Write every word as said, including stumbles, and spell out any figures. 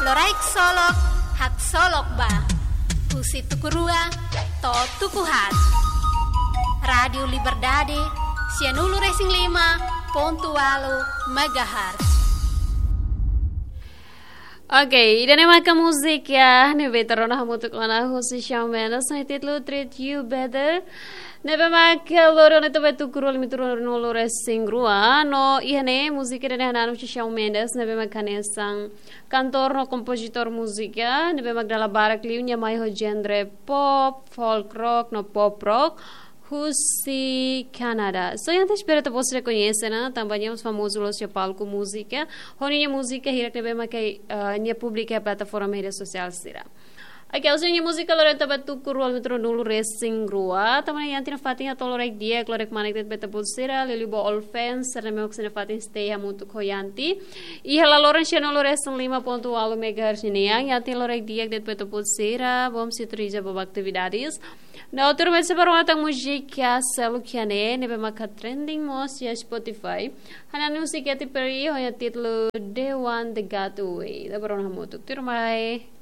Loraik solok, haksolok ba. Husi tuku rua to'o tuku haat. Rádiu Liberdade, sianulu-resin-lima pontu ualu megahertz. Oke, ida-ne'e maka múzika ne'ebé ita rona hamutuk ona husi Shawn Mendes, ho títulu Treat You Better. Ne'ebé maka lori ona to'o ba tuku rua, lima tuku rua, nulu-resin-rua. No iha ne'e múzika ida-ne'e hananu husi Shawn Mendes, ne'ebé maka hanesan kantór no kompozitór múzika, ne'ebé mak dala barak liu nia mai ho genre pop, folk rock no pop rock husi Kanadá. So, entaun espera ita-boot sira koñese ona, tanba nia mós famozu loos iha palku múzika, ho nia múzika hirak ne'ebé maka, eh, nia publika iha plataforma média sosiál sira. Oke, husi nia múzika lori ona to'o ba tuku rua, lima tuku rua, nulu-resin-rua. Tanba ne'e Yanti nafatin hato'o loraik di'ak, loraik manek de'it ba ita-boot sira, liuliu ba all fans sira ne'ebé mak sei nafatin stay hamutuk ho Yanti iha laloran sianulu-resin-lima pontu ualu megahertz nian. Yanti loraik di'ak de'it ba ita-boot sira, bom sintonia ba atividades. No tuirmai sei bá rona tan múzika seluk iha ne'e, ne'ebé maka trending mós iha Spotify. Hananu husi Katy Perry, ho nia títulu The One That Got Away. Ita bá rona hamutuk, tuirmai.